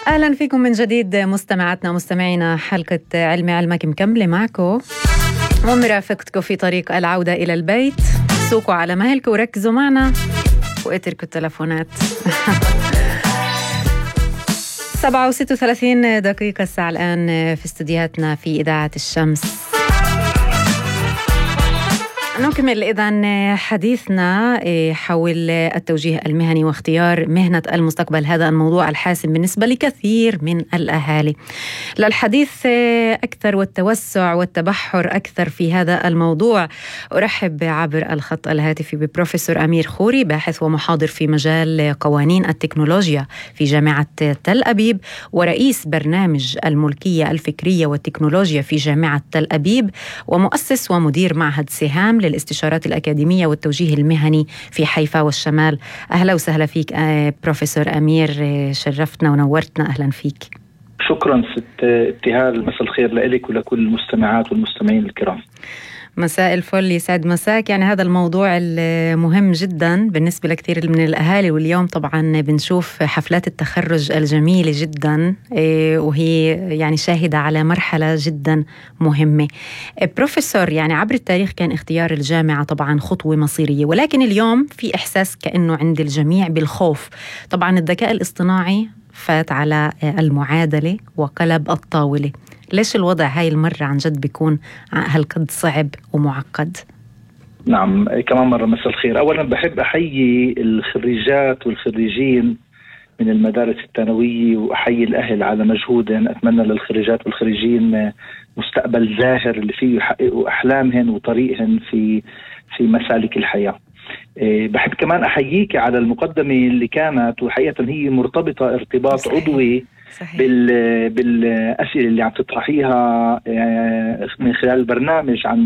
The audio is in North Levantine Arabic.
أهلا فيكم من جديد مستمعاتنا ومستمعينا. حلقة علمي علمك مكملة معكم ومرافقتكم في طريق العودة إلى البيت. سوقوا على مهلكم وركزوا معنا واتركوا التلفونات. 7:36 دقيقة الساعة الآن في استديوهاتنا في إذاعة الشمس. نكمل إذن حديثنا حول التوجيه المهني واختيار مهنة المستقبل. هذا الموضوع الحاسم بالنسبة لكثير من الأهالي. للحديث أكثر والتوسع والتبحر أكثر في هذا الموضوع أرحب عبر الخط الهاتفي ببروفيسور أمير خوري، باحث ومحاضر في مجال قوانين التكنولوجيا في جامعة تل أبيب، ورئيس برنامج الملكية الفكرية والتكنولوجيا في جامعة تل أبيب، ومؤسس ومدير معهد سهام للاستشارات الأكاديمية والتوجيه المهني في حيفا والشمال. أهلا وسهلا فيك بروفيسور أمير، شرفتنا ونورتنا. أهلا فيك. شكرا ست ابتهال، مساء الخير لك ولكل المستمعات والمستمعين الكرام. مساء الفل، يسعد مساك. يعني هذا الموضوع المهم جدا بالنسبة لكثير من الأهالي، واليوم طبعا بنشوف حفلات التخرج الجميلة جدا وهي يعني شاهدة على مرحلة جدا مهمة. بروفيسور، يعني عبر التاريخ كان اختيار الجامعة طبعا خطوة مصيرية، ولكن اليوم في إحساس كأنه عند الجميع بالخوف. طبعا الذكاء الاصطناعي فات على المعادلة وقلب الطاولة. ليش الوضع هاي المرة عن جد بيكون هالقد صعب ومعقد؟ نعم، كمان مرة مساء الخير. أولا بحب أحيي الخريجات والخريجين من المدارس الثانوية، وأحيي الأهل على مجهودهم. أتمنى للخريجات والخريجين مستقبل زاهر اللي فيه يحققوا أحلامهم وطريقهم في مسالك الحياة. بحب كمان أحييك على المقدمة اللي كانت، وحقيقة هي مرتبطة ارتباط صحيح. عضوي صحيح. بالأسئلة اللي عم تطرحيها من خلال البرنامج عن